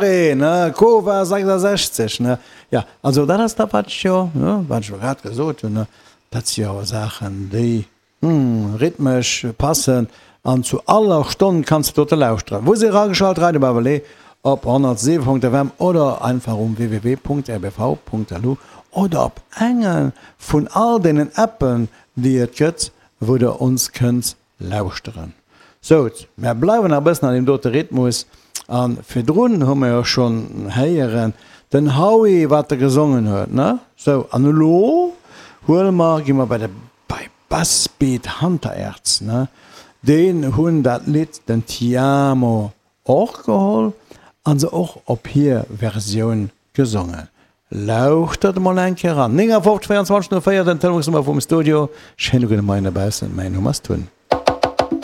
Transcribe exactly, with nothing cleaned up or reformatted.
nach een, ne? Kova sechsundsechzeg, ne? Ja, also dat ass dat, wat ech jo, ne, wat ech elo grad gesot hunn, ne? Dat si jo awer Saachen, déi, hm, rhythmesch passen an zu aller Stonn kanns de dote lauschteren. Wou se erageschalt, Radio Bavelé op honnertsiwe Punkt F M oder einfach um w w w Punkt r b v Punkt l u oder op enge vun all deenen Appen, déi et gëtt, wou der ons kënnt lauschteren. Sou, mär bleiwen nach e bëssen an deem dote Rhythmus a virdrun hu mer jo schonn héieren den Howie, wat e gesongen huet, ne? Sou, an elo huele mer, gi mer bei de, bei Bassbeat Hunter-Erz, ne? Deen hunn dat Lidd den Ti Amo och geholl a se och op hir Versioun gesongen. Lauschtert emol eng Kéier eran. néngafofzeg véierundzwanzeg null véier, den Telefonsnummer vum Studio. Schéine gudde Moien dobaussen, mäin Numm ass Tun.